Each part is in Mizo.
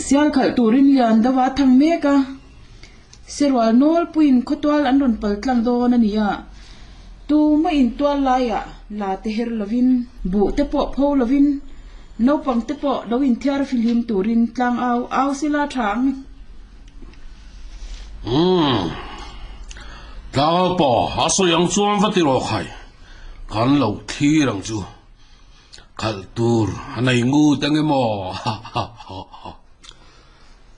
Sial khalh turin lian deuh a thang mek a, Serual nawlpuiin khawtual an rawn pal tlang dawn a ni a, tumah in tual laiah la te her lovin, buh te pawh pho lovin, naupang te pawh lo inthiar fihlim turin tlang au au sila tha ang. Umm. Tlang pawh a sawi ang chuan va ti rawh khai, kan lo thlir ang chu. Khalh tur a nei ngut ang emaw? Ha ha ha ha.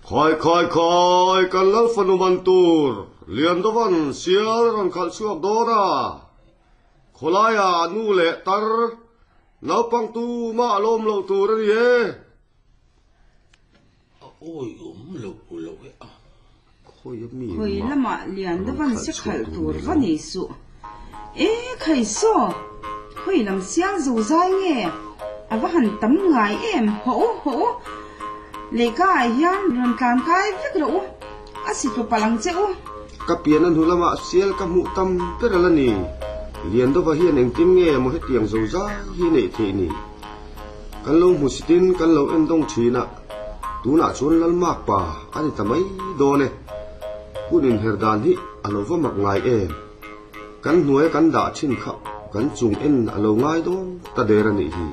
Khawi khawi khawi kan lal fanu man tur Liandovan sial rawn khalh chhuak dawn a, khawlaia nu leh tar naupang tumah a lawm loh tur a ni e. A awi awm loh loh e a. Khawi lamah Liandovan se khalh tur va nei suh. E khai saw, khawi lam sial zo zai nge? A va han tam ngai em, hawh u, hawh u. Lehka ah hian rawn tlan kai vek rawh u, a si tlu palh ang che u. Ka pian a hnu lamah sial ka hmuh tam ber a la ni. Liandova hian engtin nge maw hetiang zo zai hi a neih theih ni? Kan lo hmusitin kan lo en dawng thin a, tunah chuan Lalmak pa a ni ta mai dawn e. Hun inher dan hi a lo va mak ngai em? Kan hnuaia kan dah thin kha kan chung en a lo ngai dawn ta der a nih hi.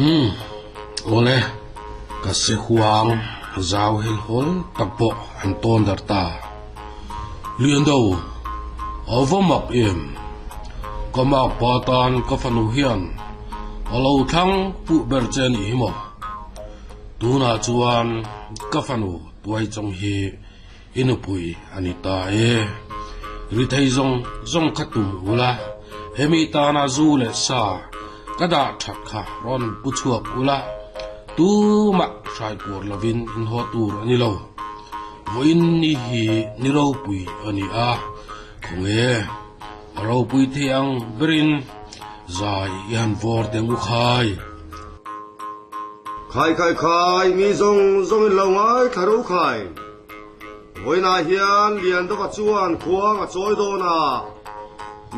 Umm, awle, ka se huang zau hel hawl tak pawh an tawn dar ta. Liando, a va mak em? Ka mak pa tan ka fanu hian a lo thlang puh ber che a nih hi maw? Tunah chuan ka fanu tuai chawng hi I nupui a ni ta e. Ri thei zawng zawng kha tum ula, hemi tana zu leh sa ka dah that kha rawn pu chhuak ula, tumah hrai puar lovin in haw tur a ni lo. Vawiin ni hi ni ropui a ni a, khawnge a ropui thei ang berin zai i han vawr teng u khai. Khai khai khai, mi zawng zawng in lo ngaithla ro khai. Vawiinah hian Liandova chuan khuang a chawi dawn a,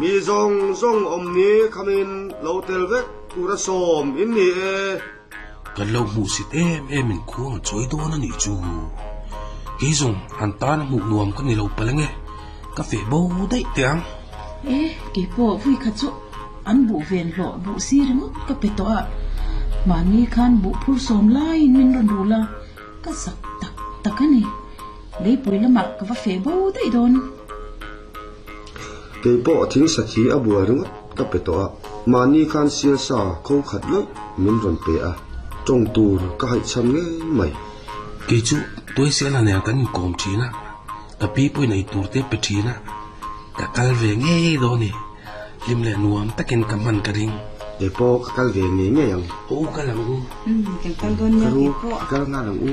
mi zawng zawng awm ni khamin lo tel vek tur a sawm in ni e. Kan lo hmuhsit em em in khuang a chawi dawn a nih chu. Kei zawng an tan a hmuh nuam ka ni lo palh ange, ka feh bo daih teh ang. E, kei pawh vui kha chu An buh ven hlawh buh si ringawt ka pe tawh a, mahni khan buh phur sawm laiin min rawn rul a, ka zak tak tak a ni. Leipui lamah ka va feh bo daih dawn. Kei pawh thing sathi a buai ringawt ka pe tawh a, mahni khan sial sa kho khat lawih min rawn pe a, tawng tur ka haihchham ngei mai. Kei chu Tuaisela nen kan inkawm thin a, ka pi pawhin ei tur te pe thin a, ka kal ve ngei dawn a ni. Hlim leh nuam takin ka hman ka ring. Kei pawh ka kal ve ngei ngei ang. Aw kal ang u. Umm kan kal dawn nia kei pawh. Ka kal nghal ang u.